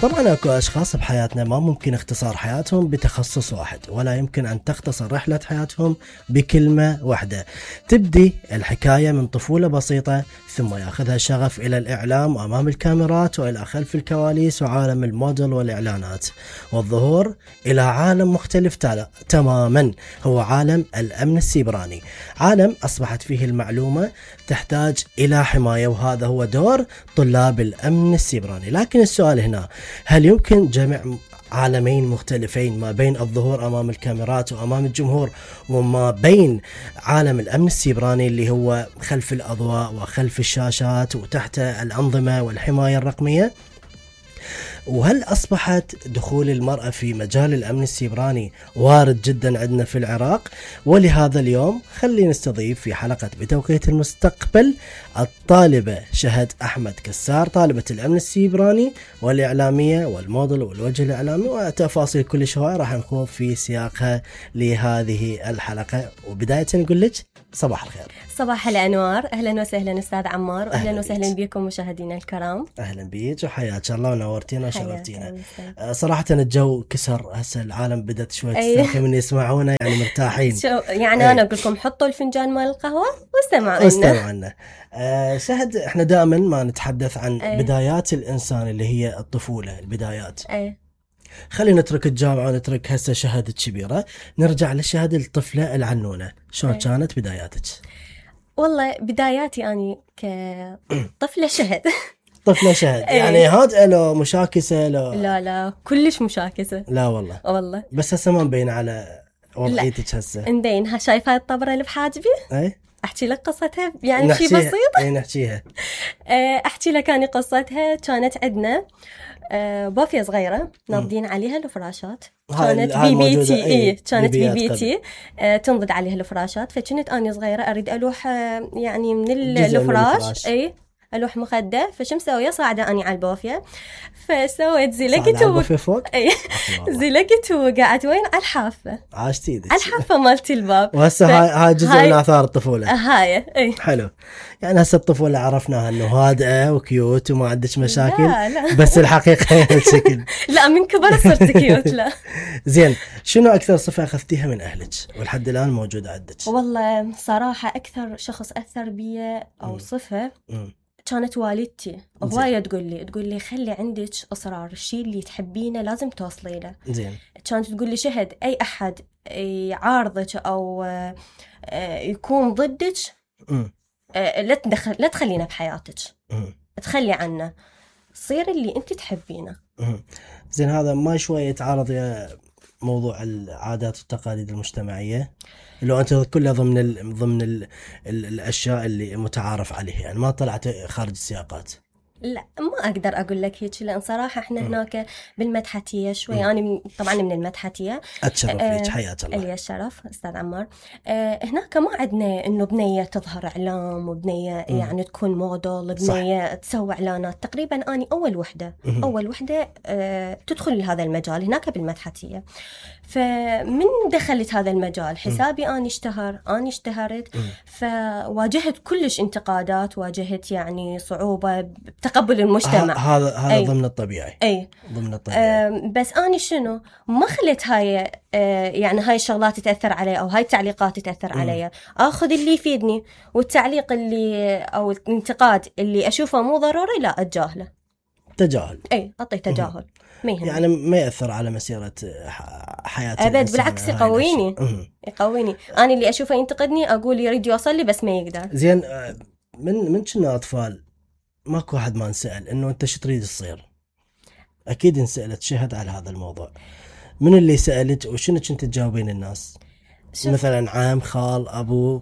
طبعا اكو اشخاص بحياتنا ما ممكن اختصار حياتهم بتخصص واحد، ولا يمكن ان تختصر رحلة حياتهم بكلمة واحدة. تبدي الحكاية من طفولة بسيطة، ثم ياخذها شغف الى الاعلام وامام الكاميرات والى خلف الكواليس وعالم الموديل والاعلانات، والظهور الى عالم مختلف تماما، هو عالم الامن السيبراني. عالم اصبحت فيه المعلومة تحتاج الى حماية، وهذا هو دور طلاب الامن السيبراني. لكن السؤال هنا، هل يمكن جمع عالمين مختلفين ما بين الظهور أمام الكاميرات وأمام الجمهور وما بين عالم الأمن السيبراني اللي هو خلف الأضواء وخلف الشاشات وتحت الأنظمة والحماية الرقمية؟ وهل أصبحت دخول المرأة في مجال الأمن السيبراني وارد جدا عندنا في العراق؟ ولهذا اليوم خلينا نستضيف في حلقة بتوقيت المستقبل الطالبة شهد أحمد كسار، طالبة الأمن السيبراني والإعلامية والموديل والوجه الإعلامي، وتفاصيل كل شوي راح نخوض في سياقها لهذه الحلقة. وبداية نقول لك صباح الخير. صباح الأنوار، أهلا وسهلا أستاذ عمار، وأهلا وسهلا بكم مشاهدينا الكرام. أهلا بيك وحياك الله ونورتينا وشرفتينا. صراحة الجو كسر هسه، العالم بدأت شوي تسترخي من يسمعونا، يعني مرتاحين. يعني أنا أقول لكم حطوا الفنجان مال القهوة واستمعوا لنا. شهد، احنا دائما ما نتحدث عن بدايات الإنسان اللي هي الطفولة، البدايات. خلينا نترك الجامعة ونترك هسه شهد الكبيرة، نرجع لشهد الطفلة العنونة. شلون كانت بداياتك؟ والله بداياتي أني كطفلة شهد طفلة شهد يعني هادئة لو مشاكسة لو؟ لا كلش مشاكسة. لا والله بس هسه ما مبين على وضعيتك هسه. مبين. شايفة الطبرة اللي بحاجبي؟ احكي لك قصتها يعني شيء بسيط. نحكيها. احكي لك اني قصتها. كانت عندنا بوفية صغيرة ناضين عليها الفراشات، كانت بي تي. كانت بي تي تنضد عليها الفراشات. فكنت اني صغيرة اريد الوح يعني من الفراش الوح مخده. فشو مسويه؟ صاعده اني على البوفيه، فسويت زلقت فوق. زلقت وقعدت وين؟ على الحافه. عاشتي ايدك على الحافه مالتي الباب. وهسه هاي جزء من اثار الطفوله. هاي حلو. يعني هسه الطفوله عرفناها انه هادئه وكيوت وما عندك مشاكل. لا. بس الحقيقه الشكل. لا من كبر صرت كيوت. لا زين، شنو اكثر صفه اخذتيها من اهلك ولحد الان موجوده عندك؟ والله صراحه اكثر شخص اثر بي او صفه كانت والدتي. هواية تقول لي خلي عندك إصرار، الشيء اللي تحبينه لازم توصلي له. زين. كانت تقول لي شهد أي أحد يعارضك أو يكون ضدك لا تخلينا بحياتك، تخلي عنه، صير اللي أنت تحبينه. زين، هذا ما شوية يتعارض يا موضوع العادات والتقاليد المجتمعية لو أنت كلها ضمن الأشياء اللي متعارف عليها، يعني ما طلعت خارج السياقات؟ لا ما أقدر أقول لك هيك، لأن صراحة إحنا هناك بالمدحتية شوي. أنا طبعا من المدحتية. أتشرف فيك، حياة الله. لي الشرف أستاذ عمار. هناك ما عندنا إنه بنية تظهر إعلام وبنية يعني تكون موديل، بنية تسوي إعلانات. تقريبا أنا أول وحدة تدخل لهذا المجال هناك بالمدحتية. فمن دخلت هذا المجال حسابي أنا اشتهرت. فواجهت كلش انتقادات، واجهت يعني صعوبة بتقبل المجتمع. هذا ضمن الطبيعي. ضمن الطبيعي. بس أنا شنو ما خليت هاي يعني هاي الشغلات تأثر علي أو هاي التعليقات تأثر علي. أخذ اللي يفيدني، والتعليق اللي أو الانتقاد اللي أشوفه مو ضروري لا أتجاهله. تجاهل. أعطي تجاهل. يعني ما يأثر على مسيرة حياتي أبد، بالعكس يقويني. أنا اللي أشوفه ينتقدني أقول يريد يوصل لي بس ما يقدر. زين، من كنا أطفال ماكو واحد ما نسأل إنه أنت شو تريد تصير؟ أكيد انسألت شهد على هذا الموضوع. من اللي سألت وشنو كنت تجاوبين الناس؟ مثلا عام، خال، أبو،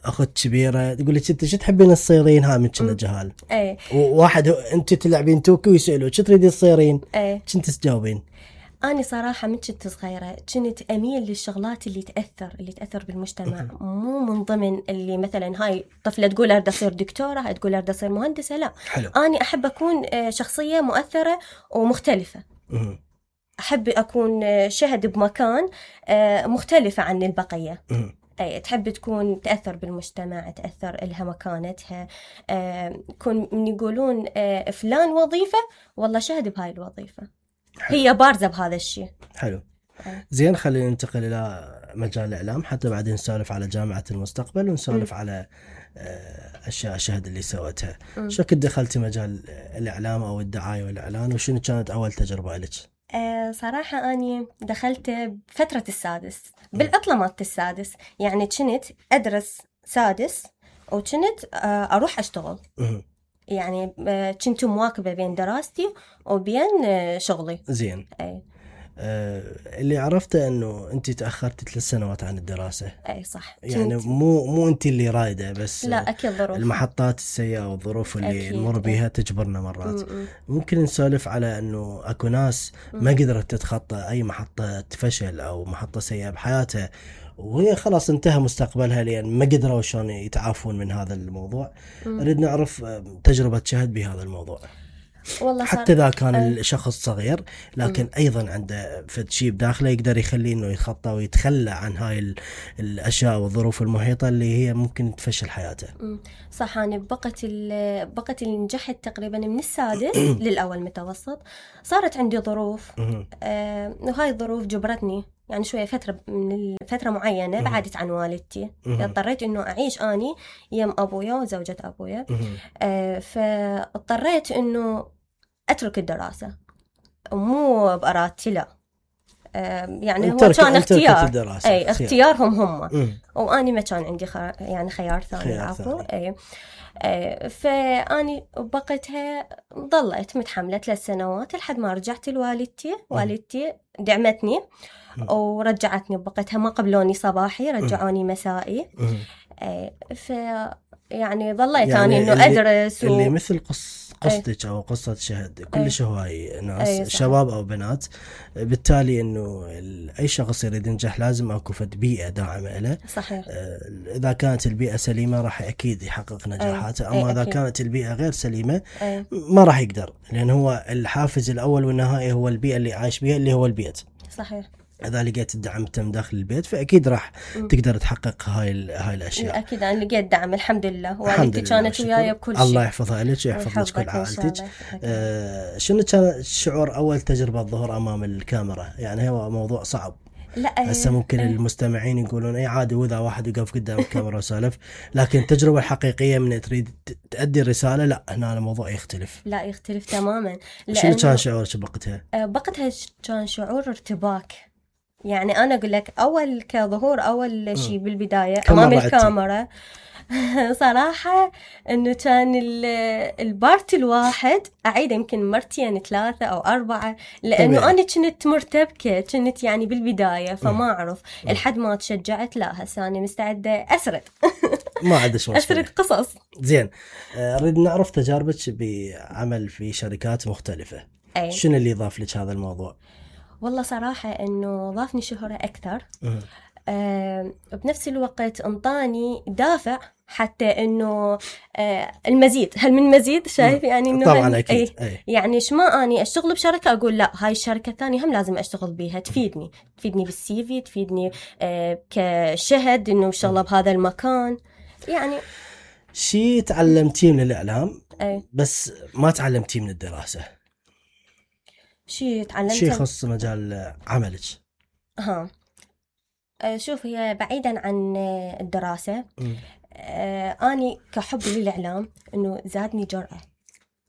أخت كبيرة، تقول لك أنت شو تحبين تصيرين؟ ها من كنا جهال. وواحد أنت تلعبين توكي ويسألوا شو تريدين تصيرين؟ كنت تجاوبين؟ أنا صراحة من كنت صغيرة كنت أميل للشغلات اللي تأثر بالمجتمع. مو من ضمن اللي مثلا هاي طفلة تقول أريد أصير دكتورة، هاي تقول أريد أصير مهندسة. لا. حلو. أنا أحب أكون شخصية مؤثرة ومختلفة. أحب أكون شهد بمكان مختلفة عن البقية. أي تحب تكون تأثر بالمجتمع، تأثر إلها مكانتها. يكون من يقولون فلان وظيفة والله شهد بهاي الوظيفة. حلو. هي بارزة بهذا الشيء. حلو. زين، خلينا ننتقل إلى مجال الإعلام حتى بعدين نسولف على جامعة المستقبل ونسولف على أشياء شهد اللي سوتها. شو كنت دخلتي مجال الإعلام أو الدعاية والإعلان، وشنو كانت أول تجربة لك؟ صراحة أني دخلت بفترة السادس، بالعطلة مالت السادس، يعني كنت أدرس سادس وكنت أروح أشتغل. يعني كنت مواكبة بين دراستي وبين شغلي. زين. اللي عرفته انه انت تاخرتي 3 سنوات عن الدراسه. اي صح. يعني مو انت اللي رايده، بس لا اكيد ظروف، المحطات السيئه والظروف اللي نمر بيها تجبرنا مرات. ممكن نسولف على انه اكو ناس ما قدرت تتخطى اي محطه فشل او محطه سيئه بحياتها وهي خلاص انتهى مستقبلها لان ما قدروا شلون يتعافون من هذا الموضوع. نريد نعرف تجربه شهد بهذا الموضوع. والله حتى إذا كان الشخص صغير لكن أيضا عنده فد شيء بداخله يقدر يخليه إنه يتخطى ويتخلى عن هاي الأشياء والظروف المحيطة اللي هي ممكن تفشل حياته. صح. أنا بقت اللي نجحت تقريبا من السادس للأول متوسط. صارت عندي ظروف وهاي الظروف جبرتني يعني شوية فترة معينة بعدت عن والدتي. اضطريت إنه أعيش أني يم أبويا وزوجة أبويا. فاضطريت إنه أترك الدراسة، ومو بأرادتي لا. يعني هو كان اختيار، أي اختيارهم هم. وأني ما كان عندي يعني خيار ثاني. عفوا. فأني بقتها ضليت متحملة 3 سنوات لحد ما رجعت لوالدتي. والدتي دعمتني ورجعتني بقتها، ما قبلوني صباحي، رجعوني مسائي. يعني ظليت يعني أني إنه أدرس اللي مثل قصتك أو قصة شهد كلش هواي ناس شباب أو بنات. بالتالي إنه أي شخص يريد ينجح لازم أكو فد بيئة داعمة له. صحيح. إذا كانت البيئة سليمة راح أكيد يحقق نجاحاته. أما إذا كانت البيئة غير سليمة ما راح يقدر، لأن هو الحافز الأول والنهائي هو البيئة اللي عايش بيها اللي هو البيت. صحيح. إذا لقيت الدعم تم داخل البيت فأكيد راح تقدر تحقق هاي الأشياء. أكيد أنا لقيت دعم الحمد لله. والدتي كانت وياي بكل شيء. الله يحفظها لك ويحفظ لك كل عائلتك. شنو كان شعور أول تجربة الظهور أمام الكاميرا؟ يعني هو موضوع صعب. لا هسه ممكن المستمعين يقولون أي عادي وإذا واحد يقف قدام الكاميرا وسالف، لكن التجربة الحقيقية من تريد تأدي الرسالة لا، هنا الموضوع يختلف. لا يختلف تماما. شنو كان شعورك بوقتها؟ بوقتها كان شعور ارتباك. يعني أنا أقول لك أول كظهور أول شيء بالبداية أمام الكاميرا صراحة إنه كان البارت الواحد أعيده يمكن مرتين 3 أو 4 لأنه طبيعي. أنا كنت مرتبكة، كنت يعني بالبداية فما أعرف لحد ما تشجعت. لا هسه أنا مستعدة أسرد ما عندش مشكلة أسرد قصص. زين. نريد نعرف تجاربك بعمل في شركات مختلفة. شنو اللي ضاف لك هذا الموضوع؟ والله صراحة إنه ضافني شهرة أكثر. بنفس الوقت انطاني دافع حتى إنه المزيد. هل من مزيد؟ شايف يعني إنه طبعا أكيد. يعني شما أني أشتغل بشركة أقول لا هاي الشركة الثانية هم لازم أشتغل بيها، تفيدني بالسي في، تفيدني كشهد إنه شغلة بهذا المكان. يعني شيء تعلمتيه من الإعلام بس ما تعلمتيه من الدراسة. شيء تعلمت شيء خاص مجال عملك. شوف هي بعيدا عن الدراسة. أني كحب للإعلام إنه زادني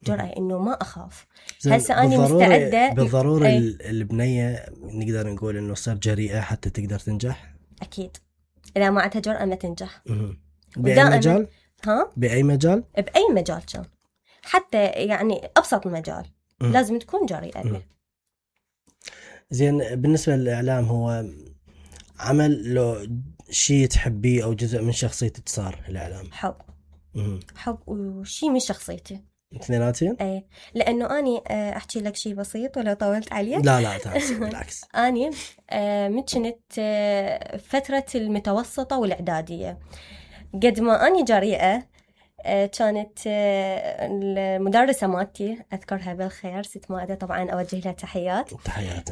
جرأة إنه ما أخاف. هسه أنا مستعدة. بالضرورة البنية نقدر نقول إنه صار جريئة حتى تقدر تنجح. أكيد إذا ما عندها جرأة ما تنجح. بأي مجال؟ بأي مجال؟ بأي مجال كان، حتى يعني أبسط المجال لازم تكون جريئة به. زين. بالنسبة للإعلام هو عمل لو شيء تحبيه أو جزء من شخصيتك صار الإعلام؟ حب وشيء من شخصيتي. اثنيناتين؟ أي لأنه أني أحكي لك شيء بسيط ولا طولت عليه؟ لا تعرف بالعكس. أني كنت فترة المتوسطة والإعدادية قد ما أني جريئة. كانت المدرسة مالتي أذكرها بالخير ست مائدة، طبعا أوجه لها تحيات. تحيات.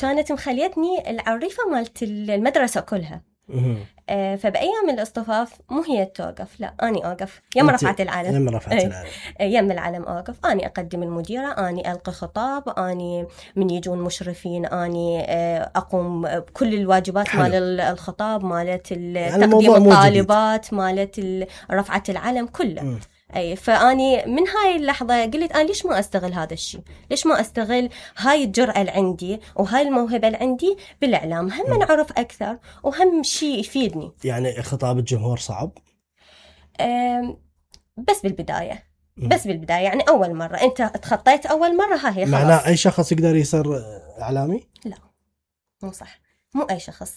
كانت مخليتني العريفة مالت المدرسة كلها. فبأيام الاصطفاف مو هي توقف، لا أني أوقف يم رفعت العلم، يم رفعت العلم، يم العلم أوقف، أني أقدم المديرة، أني ألقي خطاب، أني من يجون مشرفين أني أقوم بكل الواجبات. حلو. مال الخطاب، مالت يعني تقديم الطالبات، مالت رفعة العلم كله. أي فأني من هاي اللحظة قلت أنا ليش ما أستغل هذا الشيء، ليش ما أستغل هاي الجرأة اللي عندي وهاي الموهبة اللي عندي بالإعلام، هم نعرف أكثر وهم شيء يفيدني. يعني خطاب الجمهور صعب؟ بس بالبداية، بس بالبداية يعني أول مرة أنت تخطيت أول مرة، ها هي خلاص. معناه أي شخص يقدر يصير إعلامي؟ لا مو صح، مو أي شخص.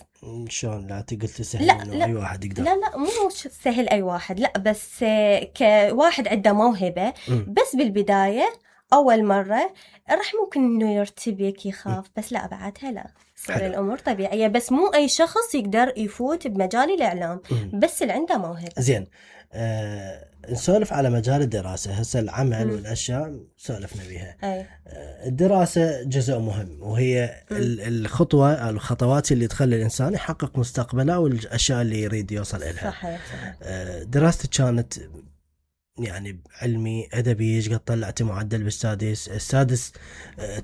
شلون؟ لا قلت سهل لا إنه أي واحد يقدر. لا مو سهل أي واحد، لا بس كواحد عنده موهبة بس بالبداية أول مرة راح ممكن إنه يرتبك يخاف، بس لا بعدها لا صار الأمور طبيعية. بس مو أي شخص يقدر يفوت بمجال الإعلام، بس اللي عنده موهبة. زين، نسولف على مجال الدراسة هسه، العمل والأشياء سولفنا بيها. الدراسة جزء مهم، وهي الخطوة أو الخطوات اللي تخلي الإنسان يحقق مستقبله والأشياء اللي يريد يوصل إلها. صحيح. دراستك كانت يعني علمي أدبي، قد طلعت معدل بالسادس؟ السادس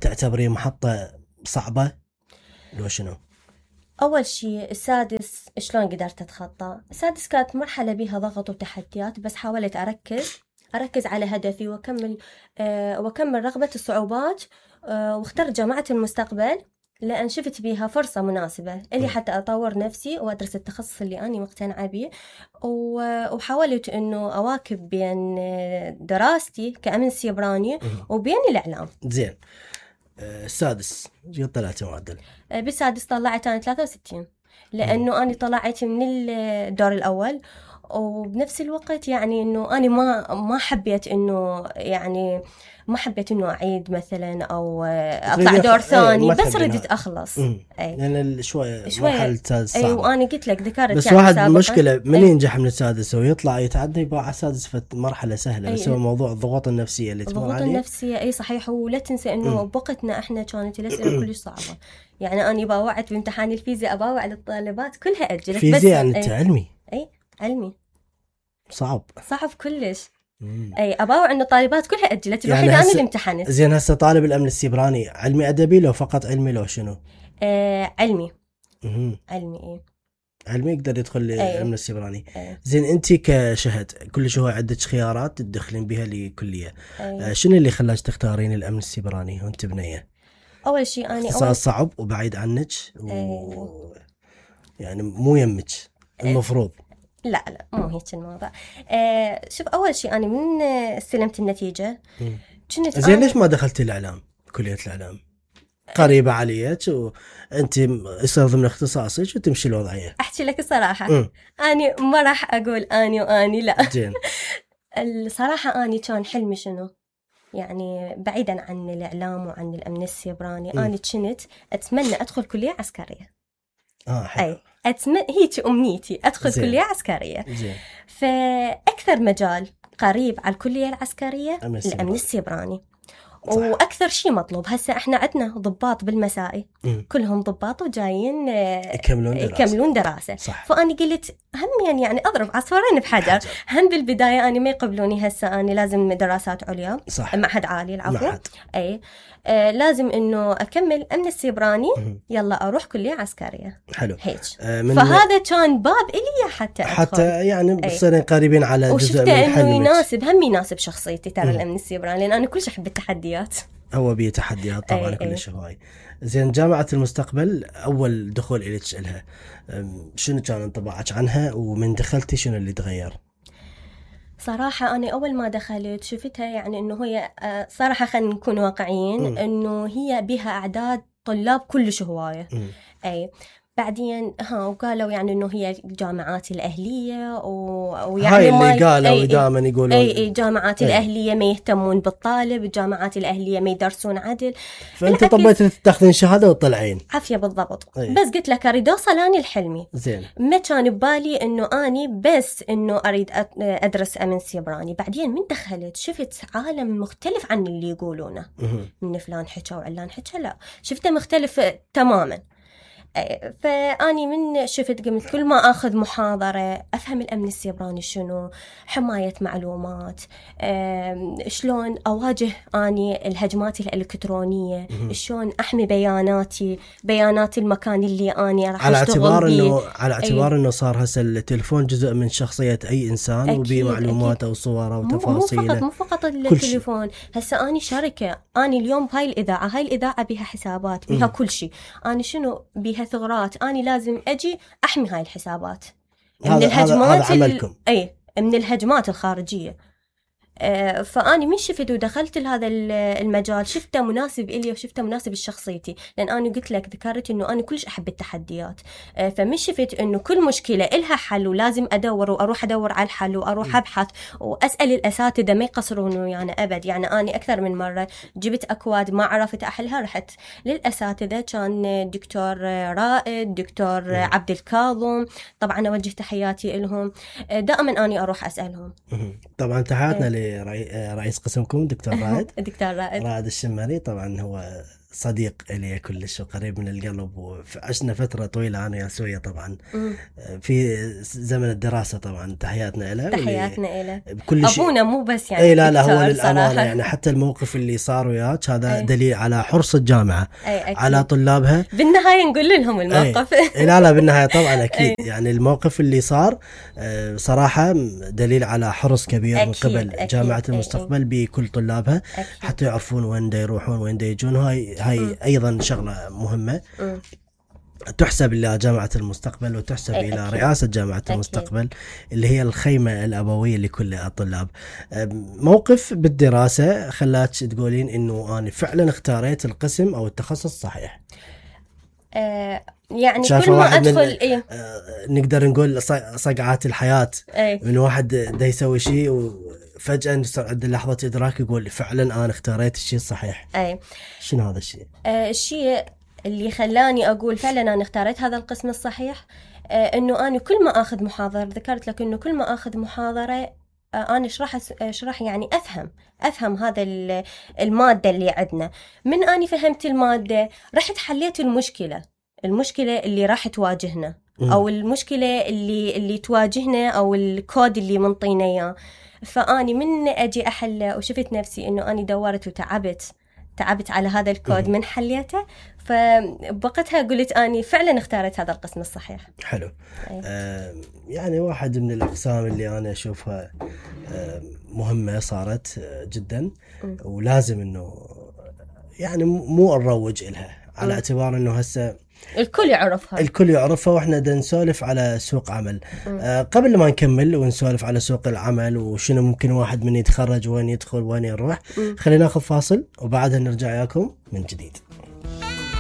تعتبريه محطة صعبة لو شنو؟ أول شيء السادس شلون قدرت أتخطى؟ السادس كانت مرحلة بها ضغط وتحديات، بس حاولت أركز على هدفي وأكمل رغبة الصعوبات، واخترت جامعة المستقبل لأن شفت بيها فرصة مناسبة اللي حتى أطور نفسي وأدرس التخصص اللي أنا مقتنعة به، وحاولت إنه أواكب بين دراستي كأمن سيبراني وبين الإعلام. زين، السادس قد طلعت معدل؟ بالسادس طلعت أنا 63، لأنه أنا طلعت من الدور الأول، وبنفس الوقت يعني إنه أنا ما حبيت إنه يعني ما حبيت إنه أعيد مثلا أو أطلع دور ثاني، بس ردت أخلص. يعني شوية مرحلة السادس صعبة. وأنا قلت لك ذكرت بس يعني واحد مشكلة من ينجح من السادس ويطلع يتعدى يبقى على السادس في مرحلة سهلة، بس هو موضوع الضغوط النفسية اللي تمر عليه. الضغوط النفسية أي صحيح، ولا تنسى إنه بوقتنا إحنا كانت الأسئلة كلش صعبة. يعني أنا باوعت بامتحان الفيزياء، أباوع الطالبات كلها أجلت. فيزياء يعني أنت علمي؟ أي علمي صعب كلش. أي أباوع إنه الطالبات كلها أجلت، الوحيدة يعني أنا اللي امتحنت. زين، هسه طالب الأمن السيبراني علمي أدبي لو فقط علمي لو شنو؟ علمي. علمي علمي يقدر يدخل الأمن السيبراني. زين، أنت كشهد كل شو عدة خيارات تدخلين بها لكلية، شنو اللي خلاك تختارين الأمن السيبراني وأنت بنية؟ أول شيء أنا اختصاص صعب وبعيد عنك يعني مو يمك المفروض. لا مو هيك الموضوع. شوف، أول شيء أنا من استلمت النتيجة كنت زين ليش ما دخلت الإعلام، كلية الإعلام قريبة عليك وأنت يصير ضمن اختصاصك وتمشي الوضعية؟ أحكي لك الصراحة، أنا ما راح أقول أني لا. زين. الصراحة أنا كان حلمي شنو، يعني بعيدا عن الإعلام وعن الأمن السيبراني، أنا كنت أتمنى أدخل كلية عسكرية. حلو. هيك أمنيتي أدخل زين. كلية عسكرية. زين. فأكثر مجال قريب على الكلية العسكرية الأمن السيبراني. صح. وأكثر شيء مطلوب هسه إحنا عندنا ضباط بالمسائي، كلهم ضباط وجايين يكملون دراسة. صح. فأنا قلت هم يعني أضرب عصفورين بحجر. هم بالبداية أنا ما يقبلوني هسه، أنا لازم دراسات عليا. صح. معهد عالي العفو. أي لازم إنه أكمل أمن السيبراني، يلا أروح كلية عسكرية. حلو. هيك. فهذا كان باب إلي حتى يعني بصيرين قريبين على جزء من حلمك. إنه يناسب شخصيتي ترى الأمن السيبراني، لأن أنا كلش أحب التحديات. هو بيه تحديات طبعا كلش هواي. زين، جامعة المستقبل أول دخول إليك لها، شنو كان انطباعك عنها ومن دخلتي شنو اللي تغير؟ صراحة أنا أول ما دخلت شفتها يعني إنه هي صراحة خلينا نكون واقعيين، إنه هي بها أعداد طلاب كلش هواية. أي بعدين وقالوا يعني إنه هي الجامعات الأهلية ويعني هاي اللي قالوا دائما يقولون أي جامعات الأهلية ما يهتمون بالطالب، الجامعات الأهلية ما يدرسون عدل. فأنت طبيت تاخذين شهادة وطلعين عافية بالضبط. بس قلت لك أريد أوصل أنا الحلمي. زين. ما كان ببالي إنه أني بس إنه أريد أدرس أمن سيبراني. بعدين من دخلت شفت عالم مختلف عن اللي يقولونه، من فلان حكى وعلان حكى، لا شفته مختلف تماما. فاني من شفت قمت كل ما اخذ محاضره افهم الامن السيبراني شنو، حمايه معلومات، شلون اواجه اني الهجمات الالكترونيه، شلون احمي بيانات المكان اللي اني راح اشتغل بيه. على اعتبار انه صار هسه التليفون جزء من شخصيه اي انسان، وبيه معلوماته وصوره وتفاصيله، مو فقط التليفون. هسه اني شركه، اني اليوم هاي الاذاعه بيها حسابات، بيها كل شيء، اني شنو بيها ثغرات، اني لازم اجي احمي هاي الحسابات من الهجمات من الهجمات الخارجيه. فاني من شفت ودخلت لهذا المجال شفته مناسب إلي وشفته مناسب لشخصيتي، لان انا قلت لك ذكرت انه انا كلش احب التحديات. فمن شفت انه كل مشكله إلها حل، ولازم ادور واروح ادور على الحل واروح ابحث واسال الاساتذه ما يقصرون يعني ابد. يعني اني اكثر من مره جبت اكواد ما عرفت احلها، رحت للاساتذه، كان دكتور رائد، دكتور عبد الكاظم، طبعا اوجه تحياتي لهم، دائما اني اروح اسالهم. طبعا تحياتنا رئيس قسمكم دكتور رائد دكتور رائد الشمري، طبعا هو صديق لي كلش وقريب من القلب، وعشنا فترة طويلة أنا وياه طبعا في زمن الدراسة. طبعا تحياتنا له بكل شيء. أبونا مو بس يعني لا هو للأمانة يعني حتى الموقف اللي صار وياك هذا دليل على حرص الجامعة على طلابها. بالنهاية نقول لهم الموقف. لا بالنهاية طبعا أكيد يعني الموقف اللي صار صراحة دليل على حرص كبير من قبل جامعة المستقبل بكل طلابها، حتى يعرفون وين دا يروحون وين دا يجون. هاي أيضا شغلة مهمة تحسب إلى جامعة المستقبل وتحسب إلى رئاسة جامعة المستقبل اللي هي الخيمة الأبوية لكل الطلاب. موقف بالدراسة خلاك تقولين إنه أنا فعلا اختاريت القسم أو التخصص صحيح؟ يعني كل ما أدخل نقدر نقول صقعات الحياة من واحد دا يسوي شيء وفجأة عند لحظة إدراك يقول فعلا أنا اختاريت الشيء الصحيح. شنو هذا الشيء؟ الشيء اللي خلاني أقول فعلا أنا اختاريت هذا القسم الصحيح، إنه أنا كل ما أخذ محاضرة، ذكرت لك إنه كل ما أخذ محاضرة أنا أشرح يعني أفهم هذا المادة اللي عندنا. من أني فهمت المادة رحت حليت المشكلة اللي راح تواجهنا، أو المشكلة اللي تواجهنا، أو الكود اللي منطينا إياه. فأني من أجي أحل وشفت نفسي إنه أني دورت وتعبت على هذا الكود من حليته، فبوقتها قلت أني فعلا اختارت هذا القسم الصحيح. حلو. يعني واحد من الأقسام اللي أنا أشوفها مهمة صارت جدا، ولازم إنه يعني مو نروج إلها على اعتبار إنه هسه الكل يعرفها واحنا دا نسولف على سوق عمل. قبل ما نكمل ونسولف على سوق العمل وشنو ممكن واحد من يتخرج وين يدخل وين يروح، خلينا ناخذ فاصل وبعدها نرجع ياكم من جديد.